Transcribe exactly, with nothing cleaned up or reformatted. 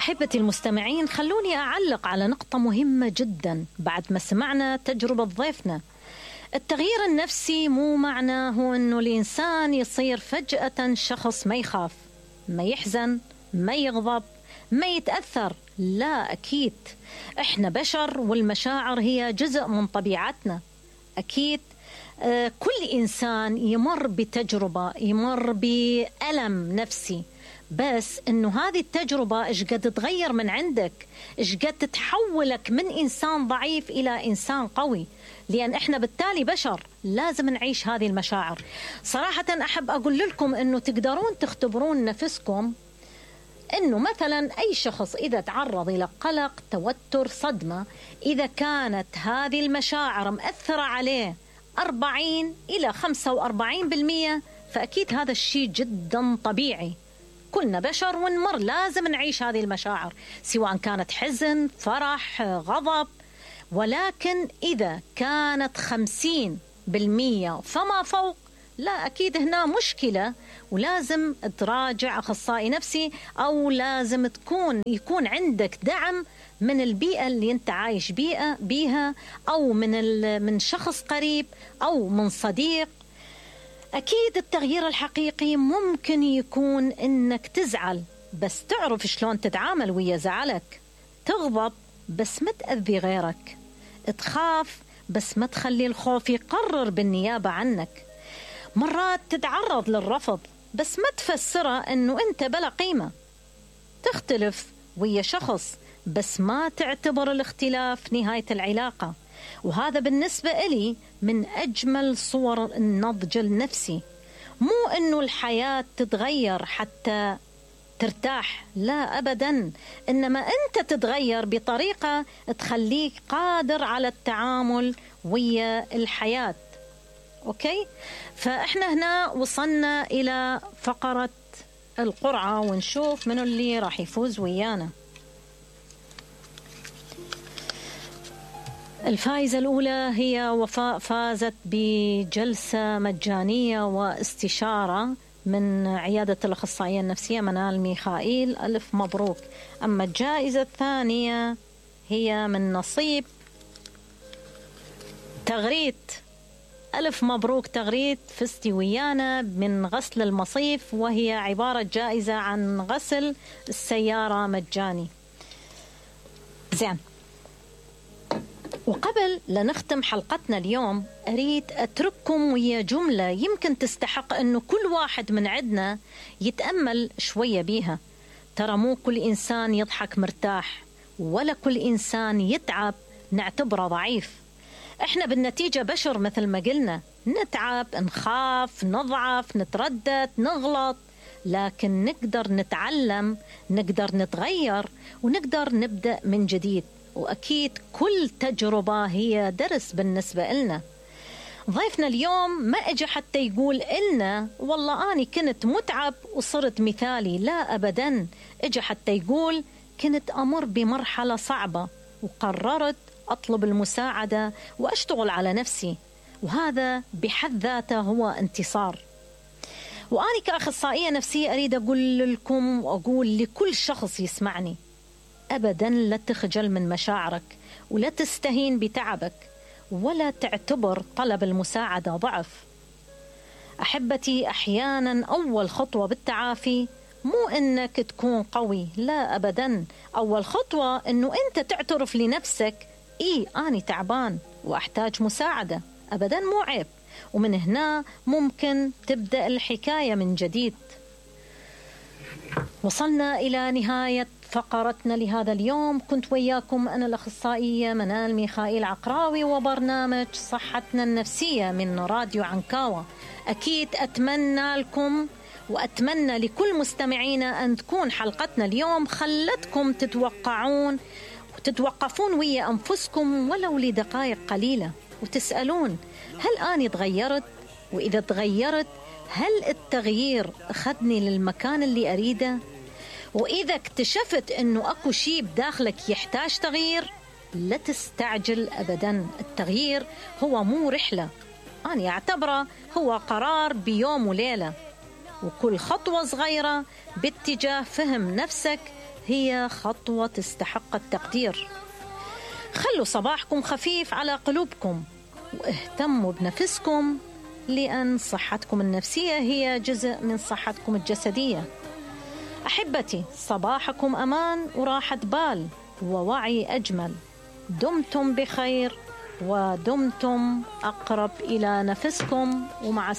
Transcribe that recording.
أحبتي المستمعين، خلوني أعلق على نقطة مهمة جدا بعد ما سمعنا تجربة ضيفنا. التغيير النفسي مو معناه أنه الإنسان يصير فجأة شخص ما يخاف، ما يحزن، ما يغضب، ما يتأثر. لا، أكيد إحنا بشر والمشاعر هي جزء من طبيعتنا. أكيد آه كل إنسان يمر بتجربة، يمر بألم نفسي، بس إنه هذه التجربة إيش قد تغير من عندك، إيش قد تحولك من إنسان ضعيف إلى إنسان قوي، لأن إحنا بالتالي بشر لازم نعيش هذه المشاعر. صراحة أحب أقول لكم إنه تقدرون تختبرون نفسكم، إنه مثلا أي شخص إذا تعرض إلى قلق، توتر، صدمة، إذا كانت هذه المشاعر مأثرة عليه أربعين إلى خمسة وأربعين بالمئة، فأكيد هذا الشيء جدا طبيعي. كلنا بشر ونمر، لازم نعيش هذه المشاعر سواء كانت حزن، فرح، غضب. ولكن إذا كانت خمسين بالمئة فما فوق، لا، أكيد هنا مشكلة ولازم تراجع أخصائي نفسي، أو لازم تكون يكون عندك دعم من البيئة اللي أنت عايش بيئة بيها، أو من من شخص قريب، أو من صديق. أكيد التغيير الحقيقي ممكن يكون إنك تزعل بس تعرف شلون تتعامل ويا زعلك، تغضب بس ما تأذي غيرك، تخاف بس ما تخلي الخوف يقرر بالنيابة عنك. مرات تتعرض للرفض بس ما تفسره إنه أنت بلا قيمة، تختلف ويا شخص بس ما تعتبر الاختلاف نهاية العلاقة. وهذا بالنسبة إلي من أجمل صور النضج النفسي. مو إنه الحياة تتغير حتى ترتاح، لا أبدا، إنما أنت تتغير بطريقة تخليك قادر على التعامل ويا الحياة. أوكي، فإحنا هنا وصلنا إلى فقرة القرعة، ونشوف منو اللي راح يفوز ويانا. الفائزة الأولى هي وفاء، فازت بجلسة مجانية واستشارة من عيادة الأخصائية النفسية منال ميخائيل، ألف مبروك. أما الجائزة الثانية هي من نصيب تغريد، ألف مبروك تغريد، فزتي ويانا من غسل المصيف، وهي عبارة جائزة عن غسل السيارة مجاني. زين، وقبل لنختم حلقتنا اليوم أريد أترككم ويا جملة يمكن تستحق أنه كل واحد من عندنا يتأمل شوية بيها. ترى مو كل إنسان يضحك مرتاح، ولا كل إنسان يتعب نعتبره ضعيف. إحنا بالنتيجة بشر مثل ما قلنا، نتعب، نخاف، نضعف، نتردد، نغلط، لكن نقدر نتعلم، نقدر نتغير، ونقدر نبدأ من جديد. وأكيد كل تجربة هي درس بالنسبة لنا. ضيفنا اليوم ما أجي حتى يقول إلنا والله أنا كنت متعب وصرت مثالي، لا أبدا، أجي حتى يقول كنت أمر بمرحلة صعبة وقررت أطلب المساعدة وأشتغل على نفسي، وهذا بحد ذاته هو انتصار. وأنا كأخصائية نفسية أريد أقول لكم وأقول لكل شخص يسمعني، أبدا لا تخجل من مشاعرك، ولا تستهين بتعبك، ولا تعتبر طلب المساعدة ضعف. أحبتي، أحيانا أول خطوة بالتعافي مو إنك تكون قوي، لا أبدا، أول خطوة إنه أنت تعترف لنفسك إيه أنا تعبان وأحتاج مساعدة، أبدا مو عيب. ومن هنا ممكن تبدأ الحكاية من جديد. وصلنا إلى نهاية فقرتنا لهذا اليوم. كنت وياكم أنا الأخصائية منال ميخائيل عقراوي، وبرنامج صحتنا النفسية من راديو عنكاوة. أكيد أتمنى لكم وأتمنى لكل مستمعينا أن تكون حلقتنا اليوم خلتكم تتوقعون وتتوقفون ويا أنفسكم ولو لدقائق قليلة، وتسألون هل أنا تغيرت؟ وإذا تغيرت هل التغيير أخذني للمكان اللي أريده؟ وإذا اكتشفت أنه أكو شيء بداخلك يحتاج تغيير، لا تستعجل أبدا. التغيير هو مو رحلة، أنا أعتبره هو قرار بيوم وليلة، وكل خطوة صغيرة باتجاه فهم نفسك هي خطوة تستحق التقدير. خلوا صباحكم خفيف على قلوبكم، واهتموا بنفسكم، لأن صحتكم النفسية هي جزء من صحتكم الجسدية. أحبتي، صباحكم أمان وراحة بال ووعي أجمل. دمتم بخير ودمتم أقرب إلى نفسكم، ومع